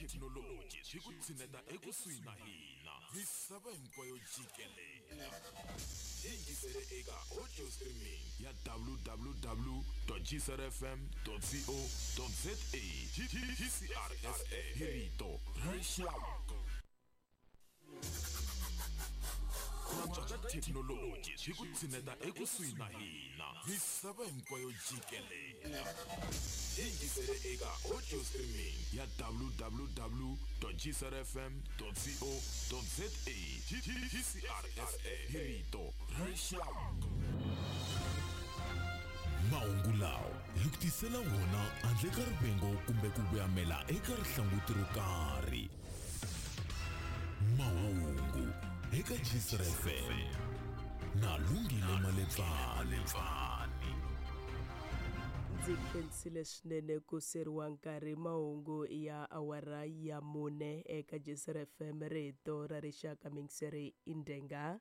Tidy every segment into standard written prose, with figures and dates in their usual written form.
thekinoloji swi ku tshineta ekusuhi na hina misava hinkwayo jikelele. Yingisele eka audio streaming ya www gcrfm co za GCRFM hi rito ra rixaka. Ku antswa ka thekinoloji swi ku tshineta ekusuhi na hina misava hinkwayo jikelele. Yingisele eka audio streaming ya www gcrfm co za GCRFM hi rito ra rixaka. Mahungu lawa hi ku tisela wona handle ka rivengo kumbe ku voyamela eka rihlanguti ro karhi. Mahungu eka GCR FM na Lungile Maletsani. Ndzi khensile swinene ku seriwa nkarhi mahungu ya awara ya 4 eka GCR FM rito ra rixaka mingiseri indenga.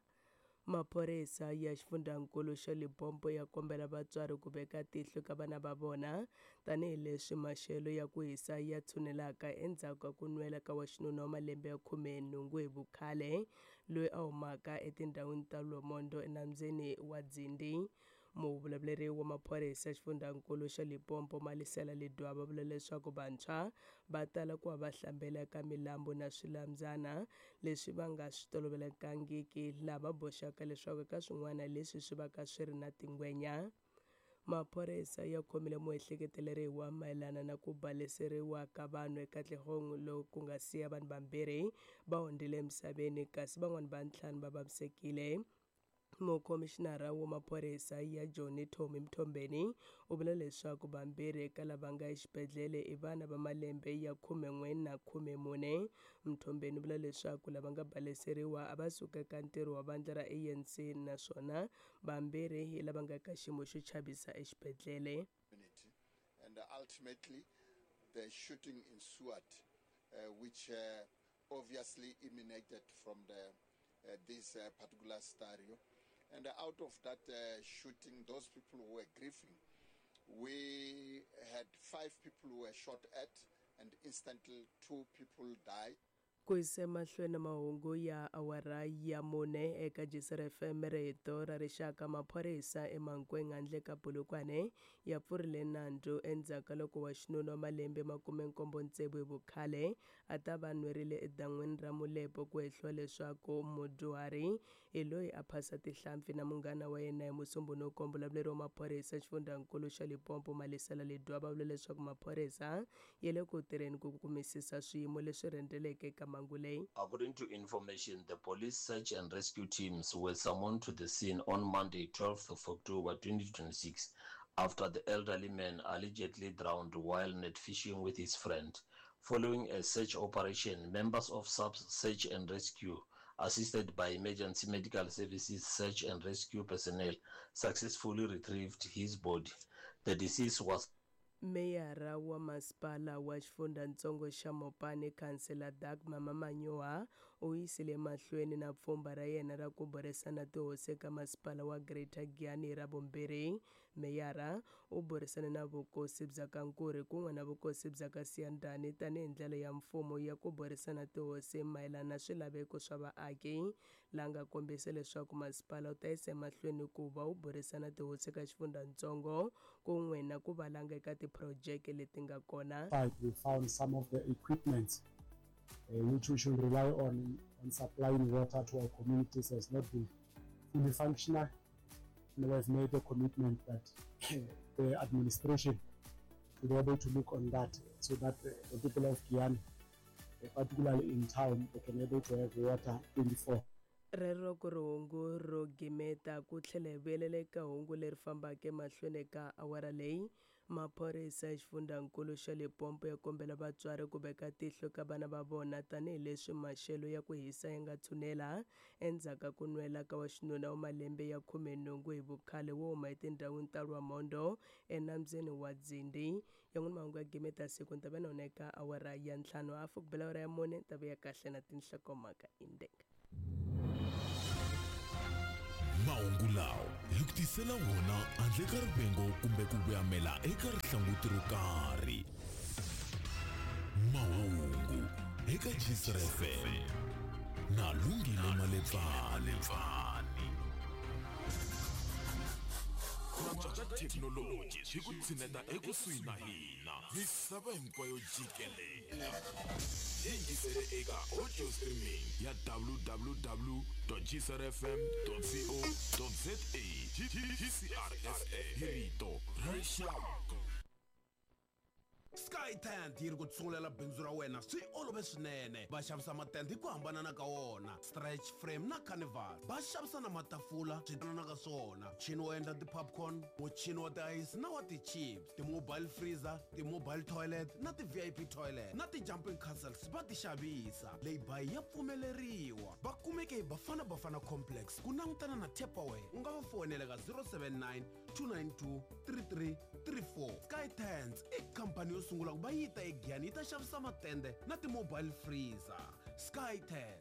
Maphorisa ya xifundzankulu xa Limpopo ya kombela vatswari ku veka tihlo ka vana va vona tanihileswi maxelo ya ku hisa ya tshunelaka endzhaku ka ku nwela ka wa xinuna wa malembe ya 18 hi vukhale loyi a humaka etindhawini ta Lwamondo enambyeni wa Dzindi. Muvulavuleri wa maphorisa xifundzankulu xa Limpopo Malisela Ledwaba vula leswaku vantshwa va tala ku va va hlambela eka milambu na swilambyana leswi va nga swi tolovelekangiki, laha va boxaka leswaku eka swin'wana leswi swi va ka swi ri na tingwenya. Maphorisa ya khomile muehleketeleriwa mayelana na ku baleseriwa ka vanhu eKatlehong loku ku nga siya vanhu vambirhi va hundzile emisaveni kasi van'wana va ntlhanu va vavisekile. Mukhomixinara wa maphorisa ya Johnny Tommy Mthombeni u vula leswaku vambirhi eka lava nga exibedhlele i vana va malembe ya 11 na 14. Mthombeni u vula leswaku lava nga baleseriwa a va suka eka ntirho wa vandla ra ANC naswona vambirhi hi lava nga ka xiyimo xo chavisa exibedhlele. And ultimately the shooting ensued, which obviously emanated from the this particular scenario. And out of that shooting, those people who were grieving, we had 5 people who were shot at, and instantly 2 people died. Ku yisa emahlweni mahungu ya awara ya 4 eka GCR FM rito ra rixaka, maphorisa eMankweng handle ka Polokwane ya pfurile nandzu endzhaku ka loko wa xinuna wa malembe 76 hi vukhale a ta va nwerile edan'wini ra Mulepo ku hehliwa leswaku mudyuhari hi loyi a phasa tihlampfi na munghana wa yena hi Musumbhunuko. Muvulavuleri wa maphorisa xifundzankulu xa Limpopo Malisela Ledwaba vula leswaku maphorisa ya le ku tirheni ku kumisisa swiyimo leswi rhendzeleke eka mhangu leyi. According to information, the police search and rescue teams were summoned to the scene on Monday, 12th of October 2026, after the elderly man allegedly drowned while net fishing with his friend. Following a search operation, members of SAPS Search and Rescue, assisted by Emergency Medical Services Search and Rescue personnel, successfully retrieved his body. The deceased was Meyara wa masipala wa xifundzatsongo xa Mopani, Khansela Dagmar Mamanyoha, u yisile mahlweni na pfhumba ra yena ra ku burisana tihosi eka masipala wa Greater Giyani hi Ravumbirhi. Meyara u burisane na vukosi bya ka Nkuri kun'we na vukosi bya ka Siyandhani tanihi ndlela ya mfumo ya ku burisana tihosi mayelana na swilaveko swa vaaki, laha nga kombisa leswaku masipala wu ta yisa emahlweni ku va wu burisana tihosi eka xifundzatsongo kun'we na ku valanga eka tiphurojeke leti nga kona. We found some of the equipment which we should rely on supplying water to our communities has not been fully functional. And we have made a commitment that the administration should be able to look on that so that the people of Giyani, particularly in town, they can be able to have water 24. Rero ku ri hungu ro gimeta ku tlhela hi vuyelela eka hungu leri fambaka emahlweni ka awara leyi. Maphorisa ya xifundzankulu xa Limpopo ya kombela vatswari ku veka tihlo ka vana va vona tanihileswi maxelo ya ku hisa ya nga tshunela endzhaku ka ku nwela ka wa xinuna wa malembe ya 18 hi vukhale wo huma etindhawini ta Lwamondo enambyeni wa Dzindi. Yan'wana mahungu ya gimeta siku ni ta va na wona eka awara ya 5 hafu ku bela awara ya 4 ta vuya kahle na tinhlokomhaka indenga. Mahungu lawa hi ku tisela wona handle ka rivengo kumbe ku voyamela eka rihlanguti ro karhi. Mahungu Eka Gcr FM na Lungile Malebvani. Ku antswa ka thekinoloji swi ku tshineta ekusuhi na hina. Misava hinkwayo jikelela. Yingisele eka audio streaming ya www.gcrfm.co.za. GCR FM hi rito ra rixaka. Sky Tent yi ri ku tsungulela bindzu ra wena swi olove swinene. Va xavisa matende hi ku hambanana ka wona, stretch frame na carnival. Va xavisa na matafula swi ka swona, muchini wo endla ti-popcorn, muchini wa ti-ice na wa ti-chips, ti-mobile freezer, ti-mobile toilet na ti-VIP toilet na ti-jumping castles va ti xavisa. Lay-by ya pfumeleriwa. Va kumeke hi Bafana Bafana Complex ku langutana na Tupperware. U nga va foyinela ka 079 292 3334. Sky Tents i khampani yo sungula ku va yi ta eGiyani yi ta xavisa matende na ti-mobile freezer. Sky Tent.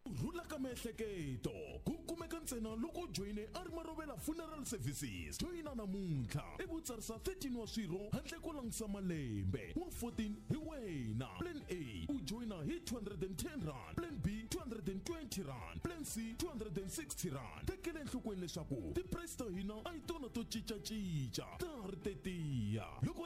Ku rhula ka miehleketo ku kumeka ntsena loko u joyine Arimarovela Funeral Services. Joyina namuntlha ivi u tsarisa 13 wa swirho handle ko langutisa malembe. Wa 14 hi wena. Plan A u joyina hi 210 rand, Plan B 220 rand, Plan C 260 rand. Tekela enhlokweni leswaku ti-price ta hina a hi tona to cincacinca, ta ha ri tetiya. Loko